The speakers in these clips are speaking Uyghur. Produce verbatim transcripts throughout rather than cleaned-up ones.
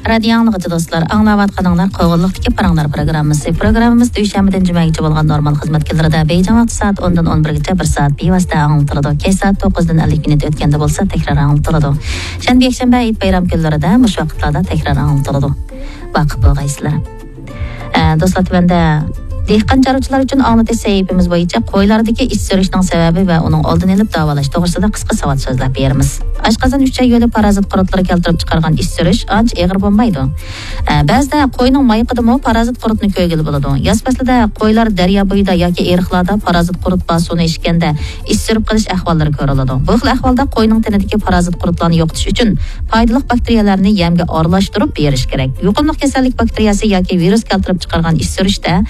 رادىيو ئاڭلىغۇچى دوستلار، ئاڭلاۋاتقىنىڭلار قوغۇنلۇقتىكى پاراڭلار پروگراممىسى. پروگراممىمىز دۈشەنبىدىن جۈمەگىچە بولغان نورمال خىزمەت كۈنلىرىدە بېيجىڭ ۋاقتى سائەت ئوندىن ئون بىرگىچە بىر سائەت بىۋاسىتە ئاڭلىتىلىدۇ. كەچ سائەت توققۇزدىن ئەللىك مىنۇت ئۆتكەندە بولسا تەكرار ئاڭلىتىلىدۇ. شەنبە، يەكشەنبە، ھېيت بايرام كۈنلىرىدە مۇشۇ ۋاقىتلاردا تەكرار ئاڭلىتىلىدۇ. ۋاقىپ بولغايسىلەر. ئە، دوستلار، تۆۋەندە دېھقان چارۋىچىلار ئۈچۈن ئاڭلىتىش سەھىپىمىز بويىچە قويلاردىكى ئىچ سۈرۈشنىڭ سەۋەبى ۋە ئۇنىڭ ئالدىنى ئېلىپ داۋالاش توغرىسىدا قىسقا ساۋات سۆزلەپ بېرىمىز. ئاشقازان ئۈچەي يولى پارازىت قۇرتلىرى كەلتۈرۈپ چىقارغان ئىچ سۈرۈش ئانچە ئېغىر بولمايدۇ. ئە، بەزىدە قوينىڭ مايىقىدىمۇ پارازىت قۇرتنى كۆرگىلى بولىدۇ. ياز پەسلىدە قويلار دەريا بويىدا ياكى ئېرىقلاردا پارازىت قۇرت بار سۇنى ئىچكەندە ئىچ سۈرۈپ قېلىش ئەھۋاللىرى كۆرۈلىدۇ. بۇ خىل ئەھۋالدا قوينىڭ تېنىدىكى پارازىت قۇرتلارنى يوقىتىش ئۈچۈن پايدىلىق باكتېرىيەلەرنى يەمگە ئارىلاشتۇرۇپ بېرىش كېرەك. يۇقۇملۇق كېسەللىك باكتېرىيەسى ياكى ۋىرۇس كەلتۈرۈپ چىقارغان ئىچ سۈرۈشتە،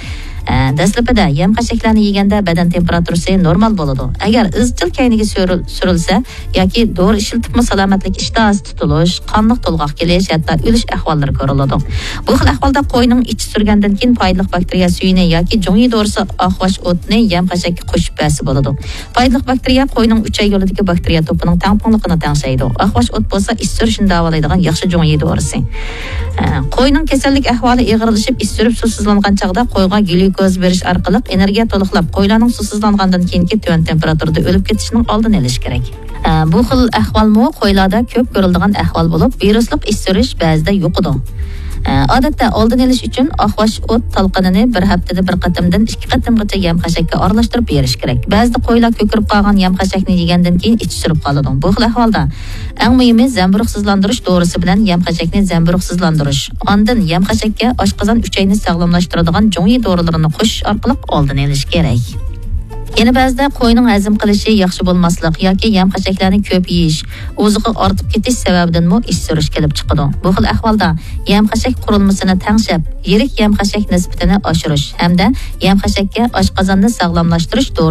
ئە، دەسلىپىدە يەم خەشەكلەرنى يېگەندە بەدەن تېمپېراتۇرىسى نورمال بولىدۇ. ئەگەر ئىزچىل كەينىگە سۈرۈل-، سۈرۈلسە ياكى دورا ئىشلىتىپمۇ سالامەتلىك ئىشتىھاسى تۇتۇلۇش، قانلىق تولغاق كېلىش، ھەتتا ئۆلۈش ئەھۋاللىرى كۆرۈلىدۇ. بۇ خىل ئەھۋالدا قوينىڭ ئىچى سۈرگەندىن كېيىن پايدىلىق باكتېرىيە سۈيىنى ياكى جۇڭيى دورىسى ئاقۋاش ئوتىنى يەم خەشەككە قوشۇپ بەرسە بولىدۇ. پايدىلىق باكتېرىيە قوينىڭ ئۈچەي يولىدىكى باكتېرىيە توپىنىڭ تەڭپۇڭلۇقىنى تەڭشەيدۇ. ئاقۋاش ئوت بولسا ئىچ سۈرۈشنى داۋالايدىغان ياخشى جۇڭيى دورىسى. ئە، قوينىڭ كېسەللىك ئەھۋالى ئېغىرلىشىپ، ئىچ سۈرۈپ سۇسىزلانغان چاغدا قويغا گليۇكوز بېرىش ئارقىلىق ئېنېرگىيە تولۇقلاپ، قويلارنىڭ سۇسىزلانغاندىن كېيىنكى تۆۋەن تېمپېراتۇرىدا ئۆلۈپ كېتىشىنىڭ ئالدىنى ئېلىش كېرەك. ئە، بۇ خىل ئەھۋالمۇ قويلاردا كۆپ كۆرۈلىدىغان ئەھۋال بولۇپ، ۋىرۇسلۇق ئىچ سۈرۈش بەزىدە يۇقىدۇ. ئە، ئادەتتە ئالدىنى ئېلىش ئۈچۈن ئاقۋاش ئوت تالقىنىنى بىر ھەپتىدە بىر قېتىمدىن ئىككى قېتىمغىچە يەم خەشەككە ئارىلاشتۇرۇپ بېرىش كېرەك. بەزىدە قويلار كۆكىرىپ قالغان يەم خەشەكنى يېگەندىن كېيىن ئىچى سۈرۈپ قالىدۇ. بۇ خىل ئەھۋالدا ئەڭ مۇھىمى زەمبۇرۇغسىزلاندۇرۇش دورىسى بىلەن يەم خەشەكنى زەمبۇرۇغسىزلاندۇرۇش. ئاندىن يەم خەشەككە ئاشقازان ئۈچەينى ساغلاملاشتۇرىدىغان جۇڭيى دورىلىرىنى قوشۇش ئارقىلىق ئالدىنى ئېلىش كېرەك. يەنە بەزىدە قوينىڭ ھەزىم قىلىشى ياخشى بولماسلىق ياكى يەم خەشەكلەرنى كۆپ يېيىش، ئوزۇقى ئارتىپ كېتىش سەۋەبىدىنمۇ ئىچ سۈرۈش كېلىپ چىقىدۇ. بۇ خىل ئەھۋالدا يەم خەشەك قۇرۇلمىسىنى تەڭشەپ، يىرىك يەم خەشەك نىسبىتىنى ئاشۇرۇش ھەمدە يەم خەشەككە ئاشقازاننى ساغلاملاشتۇرۇش